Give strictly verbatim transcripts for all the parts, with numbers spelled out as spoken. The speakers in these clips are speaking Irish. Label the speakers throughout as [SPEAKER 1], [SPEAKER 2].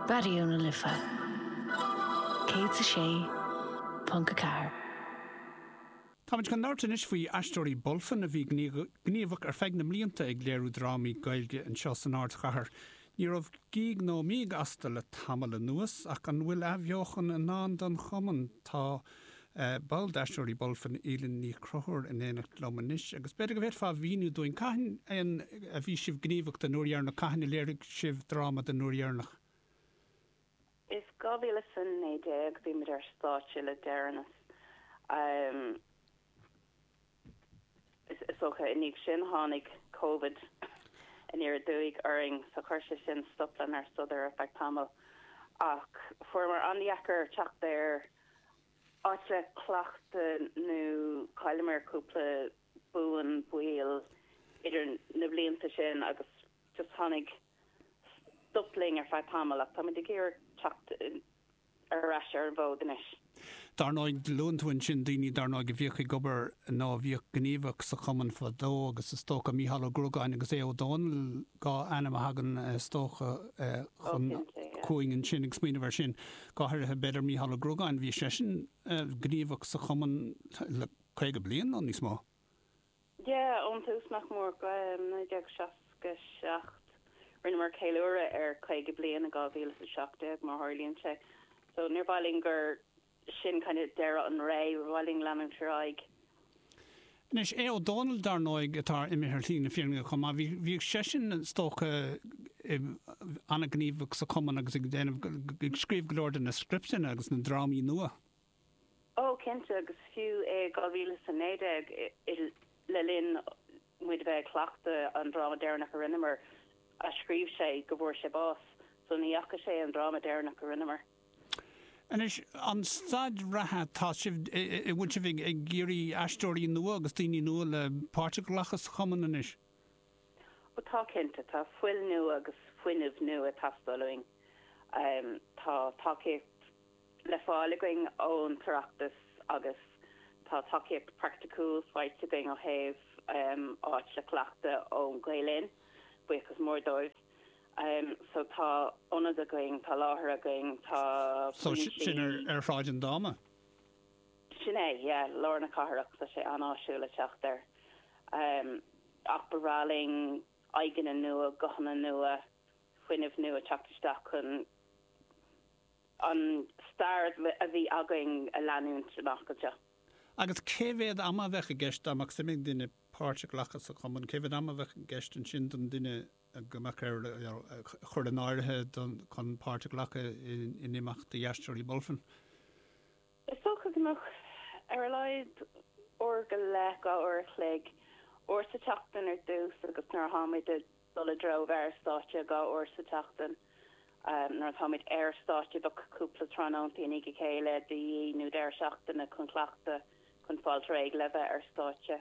[SPEAKER 1] Raidió na Life céad a sé ponc a ceathair.
[SPEAKER 2] Táimid chun labhairt anois faoi Aisteoirí Bulfin a bhí gníomhach ar feadh na mblianta ag léiriú drámaí Gaeilge anseo san ardchathair. Ní raibh gíog ná míog astu le tamall anuas ach an bhfuil athbheochan i ndán don chumann tá uh, ball d'Aisteoirí Bulfin Aoibhinn Ní Chonchúir in éineacht liom anois, agus b'fhéidir go bhféadfá míniú dúinn cathain a bhí sibh gníomhach den uair dheireanach cathain a léirigh sibh dráma den uair dheireanach.
[SPEAKER 3] Is dhá mhíle a naoi déag bhí muid ar stáitse le deireanas. Um, is is dócha i ndiaidh sin tháinig COVID aniar aduaidh orainn so chuir sé sin stop lenár sodar ar feadh tamaill ach fuaireamar an-deacair teacht ar áit le cleachtadh nó chailleamar cúpla buan baill idir na blianta sin agus just tháinig stop linn ar feadh tamaill ach táimid ag iarraidh teacht ar ais ar an bhfód anois.
[SPEAKER 2] Dar ndóigh luann tú ansin daoine dar ndóigh a bhíodh ag obair nó a bhíodh gníomhach sa chumann fadó agus is dócha Mícheál Ó Gruagáin agus Aodh Ó Dónaill dhá ainm a thagann is dócha chun chugainn ansin ag smaoineamh air sin. Go háirithe b'fhéidir Mícheál Ó Gruagáin bhí seisean gníomhach sa chumann le caoga bliain nó níos mó.
[SPEAKER 3] Yeah, ón tús nach mór naoi déag seasca seacht. Rinneamar ceiliúradh ar caoga bliain i dhá mhíle a seacht déag mar tharlaíonn sé. So níor mhaith linn gur sin kind of deireadh an ré, ba mhaith linn leanúint ar aghaidh.
[SPEAKER 2] Anois Aodh Ó Dónaill dar ndóigh atá imithe ar shlí na fírinne chomh maith, bhí seisean is dócha an-ghníomhach sa chumann agus ag déanamh ag scríobh go leor de na scripteanna agus na drámaí nua.
[SPEAKER 3] Ó cinnte agus fiú é dhá mhíle a naoi déag le linn muid bheith ag cleachtadh an dráma deireanach a rinneamar a scríobh sé go bhfuair sé bás, so ní fhaca sé an dráma deireanach a rinneamar.
[SPEAKER 2] Anois an staid reatha tá sibh bhfuil sibh ag ag iarraidh aisteoirí nua agus daoine nua le páirt a ghlacadh sa chumann anois.
[SPEAKER 3] Ó tá cinnte tá fuil nua agus fuinneamh nua ag teastáil uainn. Um, tá tacaíocht le fáil againn ón tOireachtas agus tá tacaíocht praiticiúil faighte againn ó thaobh um, áit le cleachtadh ón Gael Linn, buíochas mór dóibh. Um, so tá ionad againn, tá láthair againn, tá
[SPEAKER 2] So sin ar ar Shráid an Dáma.
[SPEAKER 3] Sin é, yeah, lár na cathrach tá sé an-áisiúil le teacht air. Um, ach ba bhreá linn aghaidheanna nua, guthanna nua, fuinneamh nua teacht isteach chun an stair a bhí againn a leanúint amach anseo.
[SPEAKER 2] Agus cé mhéad ama a bheadh i gceist dá mbeadh suim ag duine páirt a ghlacadh sa chumann, cé mhéad ama a bheadh i gceist ansin don duine go mbeadh ar chur in áirithe chun páirt a ghlacadh in, in imeachtaí Aisteoirí Bulfin.
[SPEAKER 3] Is dócha go mbeadh ar a laghad uair go leith dhá uair a chloig uair sa tseachtain ar dtús agus nuair atáimid ag dul i dtreo bheith ar stáitse dhá uair sa tseachtain. Um, nuair atáimid ar stáitse bheadh cúpla tráthnóntaí i ndiaidh a chéile de dhíth nó deireadh seachtaine chun cleachtadh chun fáil réidh le bheith ar stáitse.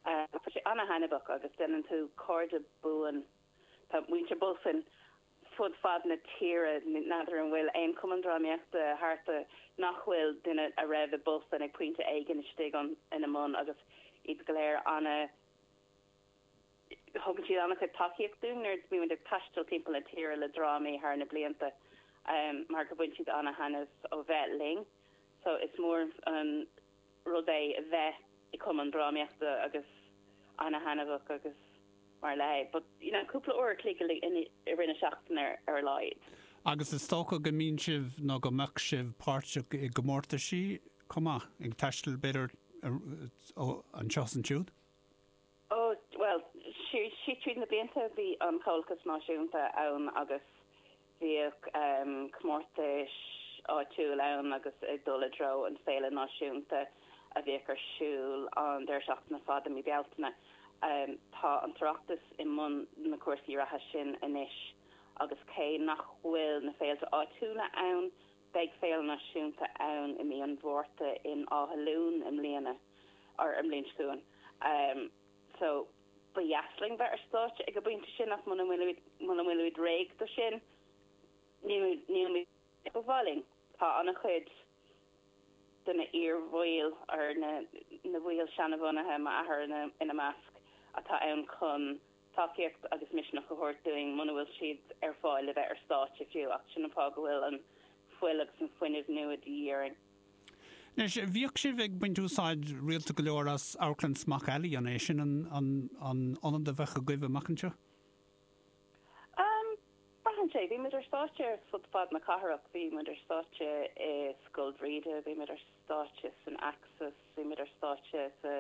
[SPEAKER 3] Uh, tá sé an-thaitneamhach agus déanann tú cairde buan Tá muintir Bulfin fud fad na tíre n'fheadar an bhfuil aon chumann drámaíochta thart nach bhfuil duine a raibh i Bulfin ag pointe éigin istigh an ina mbun agus iad go léir ana thugann siad an-chuid tacaíocht dúinn nuair a bhímid ag taisteal timpeall na tíre le drámaí thar na blianta um, mar go bhfuil siad an-thaitneamh ó bheith linn. So is mór an rud é a bheith i cumann drámaíochta agus an-thaitneamhach agus mar le, but you know, cúpla uair a chloig i rith na seachtaine ar, ar a laghad.
[SPEAKER 2] Agus is dócha go mbíonn sibh nó go mbeadh sibh páirteach i gcomórtaisí chomh maith ag taisteal b'fhéidir anseo is ansiúd?
[SPEAKER 3] Ó well sí sí tríd na blianta bhí an Comhlachas Náisiúnta ann agus bhíodh um, comórtais áitiúil ann agus ag dul i dtreo an Féile Náisiúnta a bhíodh ar siúl an deireadh seachtaine fada mí Bealtaine. Um, tá an tOireachtas i mbun na cúrsaí reatha sin anois agus cé nach bhfuil na féilte áitiúla ann, beidh féile náisiúnta ann i mí an Mhárta in Áth Luain i mbliana or i mbliain seo chugainn. Um, so ba dheas linn bheith ar stáitse ag an bpointe sin ach muna bhfuil muna bhfuil réidh do sin níl ba mhaith linn. Tá an-chuid de na iarbhaill ar na na baill seanbhunaithe m'athair ina, ina measc atá ann chun tacaíocht agus misneach a thabhairt dúinn muna bhfuil siad ar fáil le bheith ar stáitse fiú ach sin an fáth go bhfuil an fuil agus an fuinneamh nua de dhíth orainn.
[SPEAKER 2] Anois, bhíodh sibh ag baint úsáid rialta go leor as Amharclann Smock Alley, an é sin an an ionad a bheadh agaibh amach anseo?
[SPEAKER 3] Um, braitheann sé, bhí muid ar stáitse ar fud fad na cathrach, bhí muid ar stáitse i Scoil Bhríde, bhí muid ar stáitse san Axis, bhí muid ar stáitse sa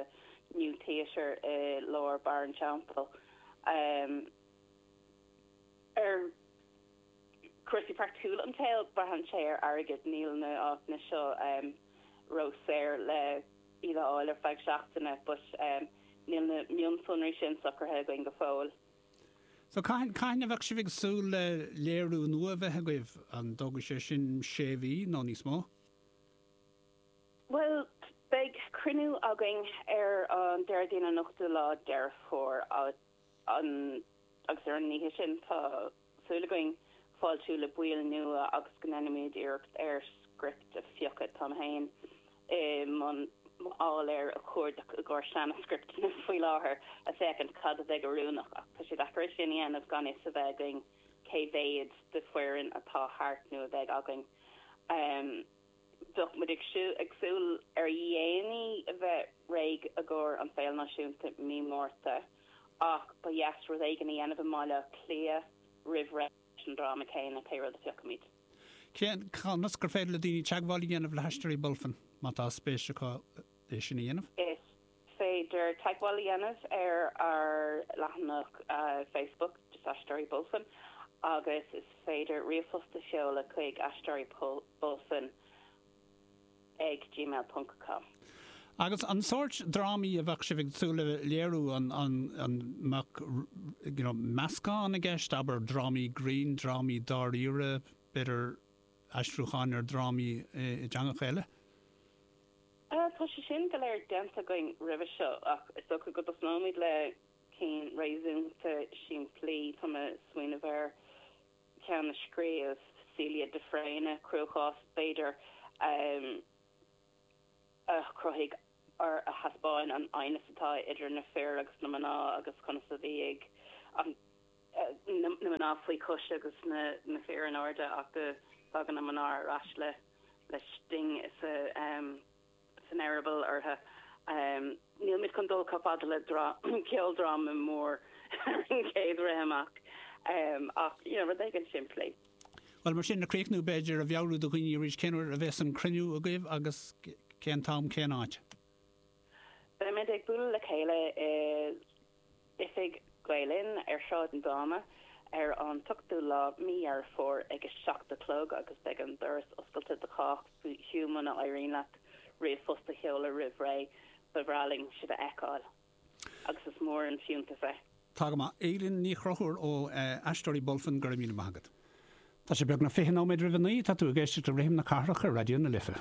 [SPEAKER 3] New Theatre i lár Barr an Teampaill. Um, ar cúrsaí praiticiúla an tsaoil, braitheann sé ar airgead, níl na áiteanna seo um, ró-saor le iad a fháil ar feadh seachtaine, but um, níl na mionsonraí sin socraithe againn go fóill.
[SPEAKER 2] So cathain cathain a bheadh sibh ag súil le léiriú nua a bheith agaibh, an dtógfaidh sé sin sé mhí nó níos mó?
[SPEAKER 3] Well, beidh cruinniú againn ar an Déardaoin an ochtú lá Deireadh Fómhair an agus ar an oíche sin tá súil againn fáiltiú le baill nua agus go ndéanfaimid iarracht ar script a phiocadh. Tá mé féin i mbun áiléar a chuardach i gcomhair seana-scripteanna faoi láthair a féachaint cad a bheidh oiriúnach ach tá sé deacair é sin a dhéanamh gan fhios a bheith againn cé mhéad de foireann atá thart nó a bheidh againn. Um, bheadh muid ag ag súil ar a dhéanaí a bheith réidh i gcomhair an Féile Náisiúnta mí Márta ach ba dheas rud éigin a dhéanamh i mBaile Átha Cliath roimh ré leis an dráma céanna pé rud a phiocfaimid.
[SPEAKER 2] Cén conas gur féidir le daoine teagmháil a dhéanamh le hAisteoirí Bulfin má tá spéis acu é sin a dhéanamh?
[SPEAKER 3] Is féidir teagmháil a dhéanamh ar ár leathanach uh, Facebook just Aisteoirí Bulfin agus is féidir ríomhphost a sheoladh chuig aisteoirí bulfin ag gmail ponc com.
[SPEAKER 2] Agus an sórt drámaí a bheadh sibh ag súil le léiriú an an an mbeadh you know, meascán i gceist abair drámaí grinn, drámaí dáiríre, b'fhéidir aistriúcháin ar drámaí i dteangacha eile?
[SPEAKER 3] Uh, tá sé sin go léir déanta againn roimhe seo ach is dócha go dtosnóimid le cinn réasúnta simplí. Tá mé ag smaoineamh ar ceann a scríobh Celia de Fréine, Cruachás b'fhéidir um, a chruthaigh ar a thaispeáin an aighneas atá idir na fir agus na mná agus conas a bhí ag an na mná faoi chois agus na na fir in airde ach go dtagann na mná ar ais le le sting sa um, san eireaball orthu. Um, Níl muid chun dul chomh fada le ceoldráma mór ar an chéad rith amach um, ach you know, rud éigin simplí.
[SPEAKER 2] Well mar sin le críochnú b'fhéidir a mheabhrú do dhaoine arís cén uair a bheas an cruinniú agaibh agus cén t-am cén áit.
[SPEAKER 3] Beimid ag bualadh le chéile i oifig Gael Linn ar Shráid an Dáma ar an ochtú lá mí Dheireadh Fómhair ag a seacht a chlog agus beidh an doras oscailte do chách fiú muna n-éiríonn leat ríomhphost a sheoladh roimh ré ba bhreá linn sibh a fheiceáil agus is mór an fiúntas é.
[SPEAKER 2] Tá go maith Éilín Ní Chonchúir ó Aisteoirí Bulfin go raibh míle maith agat. Tá sé beagnach fiche nóiméad roimh a naoi tá tú ag éisteacht le Rithim na Cathrach ar Raidió na Life.